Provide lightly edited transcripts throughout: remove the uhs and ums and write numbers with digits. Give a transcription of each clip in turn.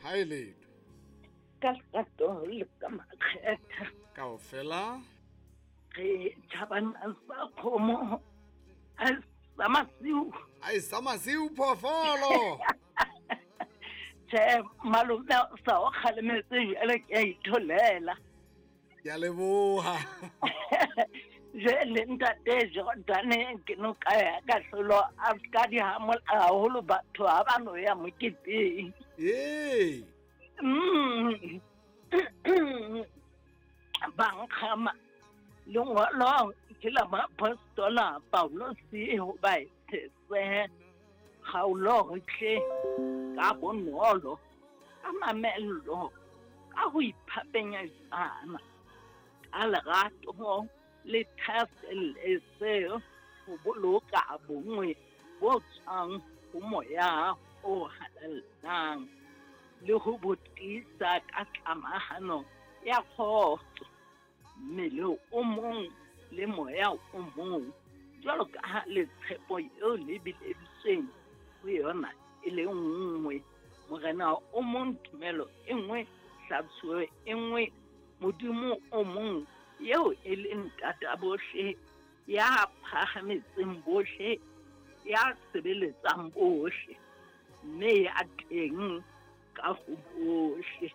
Ha e letho. Ka lerato le ka makgetha. Kaofela. Re tjhabana sa kgomo a sa masiu. Ai sa masiu phoofolo. Tjhe, malome sa o kgalemetse jwale ke a itholela. Ke a leboha. Jwale ntate Jordane ke noka ya kahlolo a ska di hamola haholo batho ha ba no ya moketeng. Ee. Ba nkgama lengolo ke la moapostola Paulose ho Baefese kgaolo tle ka bonolo ka mamello ka ho iphapenyetsana ka lerato le thaselletse ho boloka bonngwe bo tswang ho moya o halalelang le ho bo tiisa ka tlamahano ya kgotso, mmele o mong le moya o mong, jwalo ka ha le tshepo eo le bileditsweng ho yona e le nngwe. Morena o mong, tumelo e nngwe, hlatsuo e nngwe, Modimo o mong eo e leng ntata bohle, ya phahametseng bohle, ya sebeletsang bohle, mme ya teng ka ho bohle.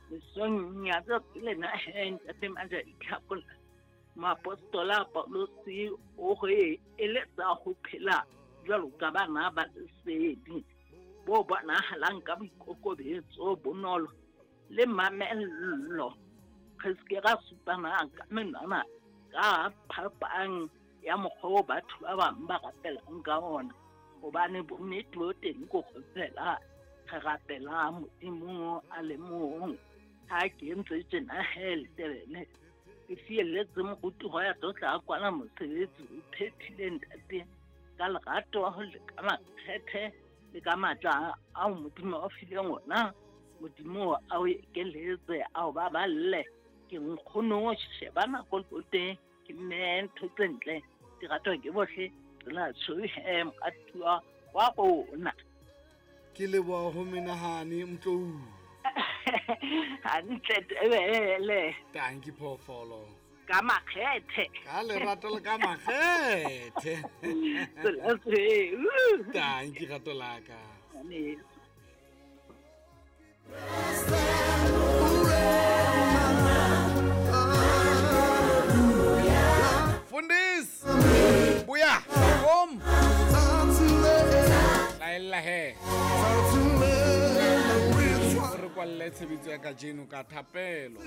Mesong ya tsatsi lena he ntate Majaditlhakola, moapostola Paulose o re eletsa ho phela jwalo ka bana ba lesedi bo bonahalang ka boikokobetso, bonolo le mamello. Re se ke ra supana ka menwana ka phapang ya mokgwa o batho ba bang ba rapelang ka ona, hobane bonnete bo teng ko go fela re rapela Modimo a le mong. Ha ke ntse tjena he letebele ke fielletse moruti ho ya tlo tla kwala mosebetsi o phethile ntate ka lerato le ka makgethe le ka matla ao Modimo a fileng ona. Modimo a o ekeletse, a o baballe. Ke nkgono sheba nako le ke mme ntho tse ntle di ratwa ke bohle. Tsela tshweu he moratuwa wa rona. Ke leboha ho menahane Mtlou. Hantle tebele. Tanki phoofolo. Ka makgethe. Ka lerato le ka makgethe. Tsela tshweu. Tanki rato la ka. Fundis. Buya. Kom. Laella he. Re kwalle tshebetso ya kajeno ka thapelo.